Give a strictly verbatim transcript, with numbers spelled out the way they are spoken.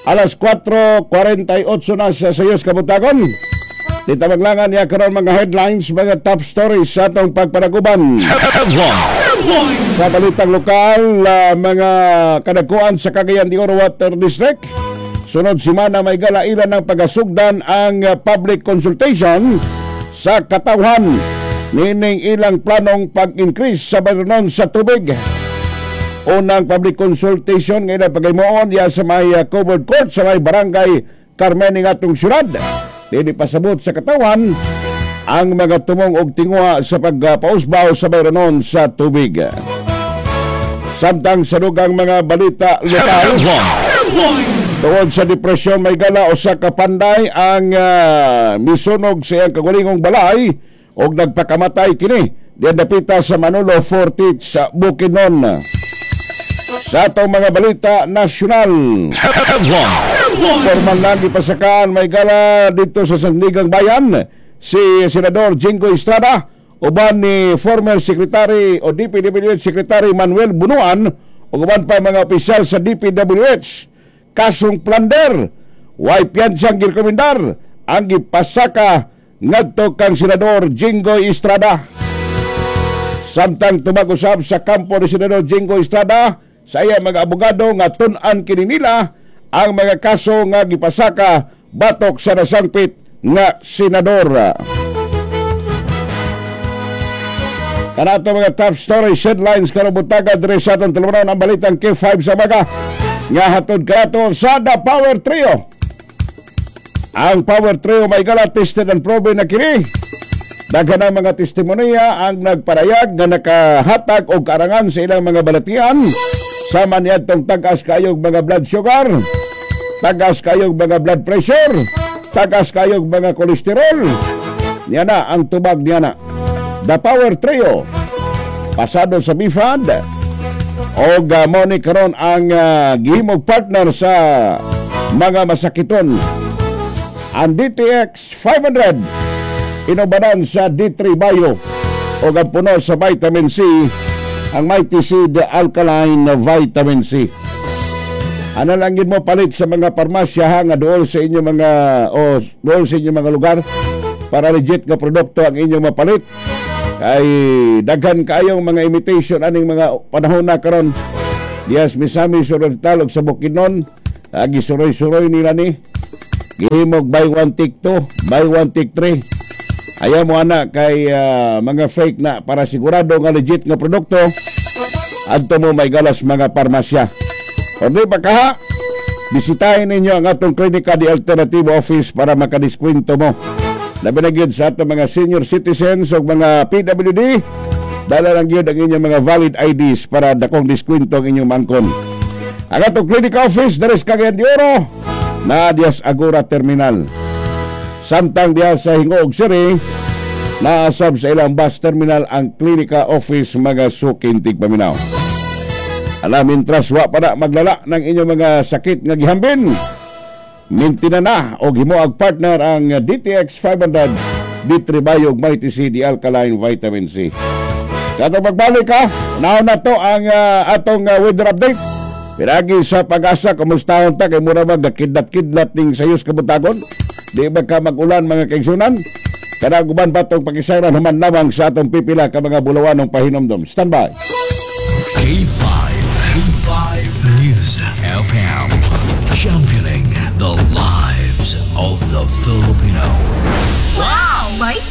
Alas kwatro kwarenta y otso na sa sayos kabuntagon. Dita maglangan niya karon mga headlines, mga top stories sa atong pagpanaguban. Sa balitang lokal, ah, mga kadakuan sa Cagayan de Oro Water District. Sunod semana, may galailan ng pagasugdan ang ah, public consultation sa katawhan nining ilang planong pag-increase sa bayronon sa tubig. Unang public consultation ngayon pagaymoon ya sa may uh, covered court sa may Barangay Carmen ng atong syudad. Dini pasabot sa katawan ang mga tumong og tinguha sa pagpausbaw sa bayronon sa tubig. Samtang sa dugang mga balita lokal, tungod sa depresyon, may gala, usa ka panday ang uh, misunog sa iyang kagulingong balay og nagpakamatay kini diyan dapita sa Manolo Fortich sa Bukidnon. Sa atong mga balita nasyonal, formal lang ipasakaan, may gala, dito sa Sandigang Bayan si Senador Jinggoy Estrada uban ni former Secretary o D P W H Secretary Manuel Bunuan ug uban pa mga opisyal sa D P W H. Kasong plunder, way piyansang girekomendar ang gipasaka ngadto kang Senador Jinggoy Estrada. Samtang tubag usab sa kampo ni Senador Jinggoy Estrada sa iya mga abogado nga tun-an kini nila ang mga kaso nga gipasaka batok sa nasangpit nga senador. Kanato mga top stories, headlines karong buntaga diri sa atong tulumanon, ang balitang K five sa maga nga hatod kanato sa The Power Trio. Ang Power Trio, may gala, tested and proven na kini. Daghan ang mga testimonya ang nagparayag nga nakahatag og karangan sa ilang mga balatian sama niadtong tag-as kayog mga blood sugar, tagas kayog mga blood pressure, tagas kayog mga kolesterol. Niya na ang tubag niya na. The Power Trio pasado sa B F A D og uh, mao ni karon ang uh, gihimog partner sa mga masakiton. Ang D T X five hundred inubanan sa D three Bio o ang puno sa vitamin C, ang Mighty Seed Alkaline Vitamin C. Ano lang yun mo palit sa mga parmasya ha, nga dool sa inyong mga o dool sa inyong mga lugar para legit nga produkto ang inyong mapalit. Kay daghan kaayong mga imitation aning mga panahon na karon. Dias Misamis Oriental ug sa Bukidnon, agi suroy-suroy nila ni. Gihimog buy one take two, buy one take three. Ayaw mo ana kay ah, mga fake na. Para sigurado nga legit nga produkto, adto mo, may galas, mga parmasya. O di ba kaha, bisitahin ninyo ang atong Klinika di Alternativo Office para makadiskwento mo. Labi na gyud sa atong mga senior citizens o mga P W D, dala lang gyud ang inyong mga valid I Ds para dakong diskwento ang inyong mangkon. Ang atong Klinika Office diri sa Cagayan de Oro na dias Agora Terminal. Samtang diya sa Gingoog City, naasab sa ilang bus terminal ang Klinika Office, mga suking tigpaminaw. Alam, mintras wa pa na maglala ng inyong mga sakit nga gihambin, mintina na og himoag partner ang D T X five hundred, D three Bio, Mighty C, the Alkaline Vitamin C. Sa atong pagbalik ha, naon na to ang ah, atong ah, weather update. Pinagi sa PAGASA, kumustahon ta kay mura mag kidlat-kidlat ning sayos kabuntagon? Di ba ka mag-ulan, mga kaigsunan? Kada guban pa itong pakisayran human lamang sa atong pipila ka mga bulawanong pahinomdom. Stand by. K five, K five News F M, championing the lives of the Filipino. Wow! May